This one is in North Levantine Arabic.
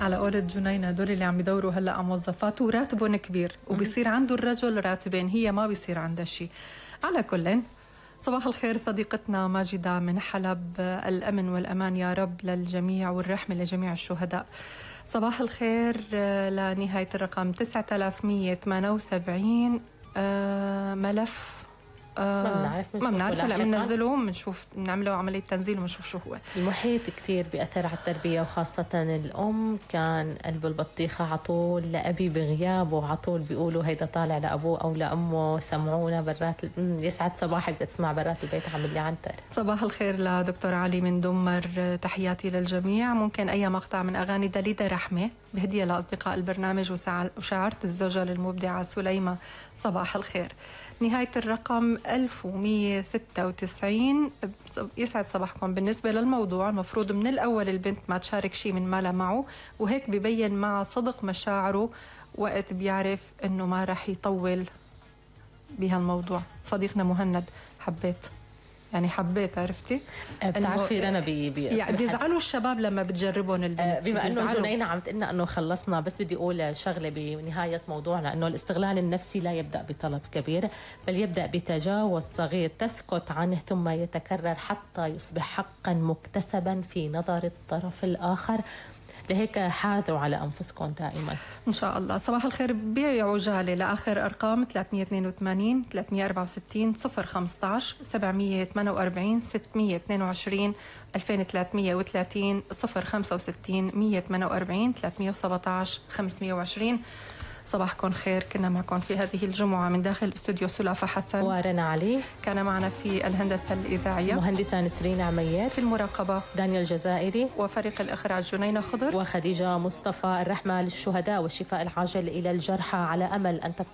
على قولة جنينة هدول اللي عم يدوروا هلا على موظفات وراتبهم كبير وبيصير عنده الرجل راتبين، هي ما بيصير عندها شيء. على كل، صباح الخير صديقتنا ماجدة من حلب، الأمن والأمان يا رب للجميع والرحمة لجميع الشهداء. صباح الخير لنهاية الرقم 9178 ملف ما بنعرف هلا بننزله بنشوف بنعمله عملية تنزيل وبنشوف شو هو. المحيط كتير بيأثر على التربية وخاصة الأم. كان قلب البطيخة عطول لأبي بغيابه، عطول بيقولوا هيدا طالع لأبوه أو لأمه، سمعونا برات يسعد صباحك بتسمع برات البيت عامل لي عنتر. صباح الخير لدكتور علي من دمر، تحياتي للجميع. ممكن أي مقطع من أغاني دليدا رحمة بهدية لأصدقاء البرنامج وشعرت الزوجة للمبدعة سليمة. صباح الخير. نهاية الرقم 1196 يسعد صباحكم. بالنسبة للموضوع المفروض من الأول البنت ما تشارك شيء من مالها معه، وهيك ببين مع صدق مشاعره وقت بيعرف انه ما رح يطول بهالموضوع. صديقنا مهند حبيت عرفتي بتعرفي انا يعني بيزعلوا الشباب لما بتجربون البنت. بما انه جنينة عم تقلنا انه خلصنا، بس بدي اقول شغله بنهايه موضوعنا، انه الاستغلال النفسي لا يبدا بطلب كبير بل يبدا بتجاوز صغير تسكت عنه ثم يتكرر حتى يصبح حقا مكتسبا في نظر الطرف الاخر. لهيك حاذوا على أنفسكم دائما إن شاء الله. صباح الخير. بيعي عجالة لآخر أرقام 382 364 015 748 622 2330 065 148 317 520. صباحكم خير. كنا معكم في هذه الجمعة من داخل استوديو سلافة حسن ورنا علي، كان معنا في الهندسة الإذاعية مهندسة نسرين عميات، في المراقبة دانيال جزائري، وفريق الإخراج جنينة خضر وخديجة مصطفى. الرحمة للشهداء والشفاء العاجل إلى الجرحى، على أمل أن تبقى